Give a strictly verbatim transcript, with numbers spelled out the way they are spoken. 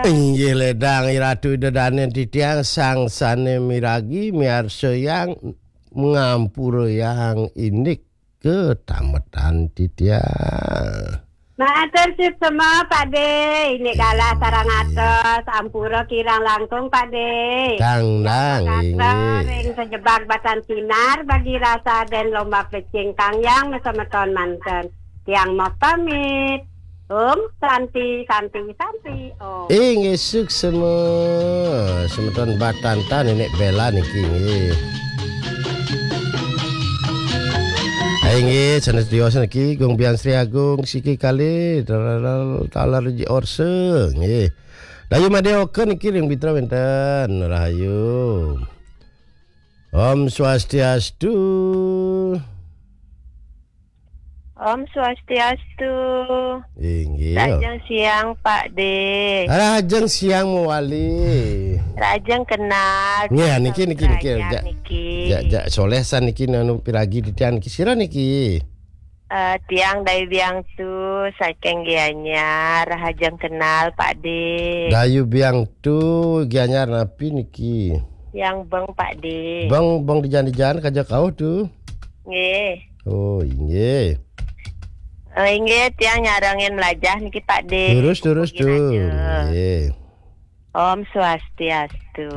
Inggih ledang Ratu Ida Dané titiang sang sané miragi miarsa yang ngampura yang indik ketametan titiang. Matur suksma, Pak De. Ini galah sareng atos, ampura kirang langkung, Pak De. Kang nang, inggih. Ring sejebak batan sinar bagi rasa dan lomba pecing kang yang mesemeton manten. Tiang mau pamit. Om Santi, Santi, Santi, Om. Inggih suksma. Semeton batan tan nenek bela niki, inggih. Inggih, sanes tiosan niki, Gung Biang Sri Agung, siki kali, talar, talar ji orse, nggih. Dayu Madé Oka niki ring Bitra wénten, rahayu. Om Swastiastu. Om Swastiastu. Inggih. Rahajeng siang, Pak De. Rahajeng siang mawali. Rahajeng kenal. Nggih, niki, niki, niki. Raya niki. Jak, jak soléh san niki anu piragi titiang niki. Sira niki? Eh, tiang Dayu Biang Tu saking Gianyar, rahajeng kenal, Pak De. Dayu Biang Tu Gianyar napi niki? Tiang Beng, Pak De. Beng, Beng dijan-dijan kaja kauh Tu. Nggih. Oh, inggih. Eh, inggih, tiang nyarengin melajah niki, Pak De. Terus, terus, mugi Tu. Raja. Nggih. Om Swastiastu.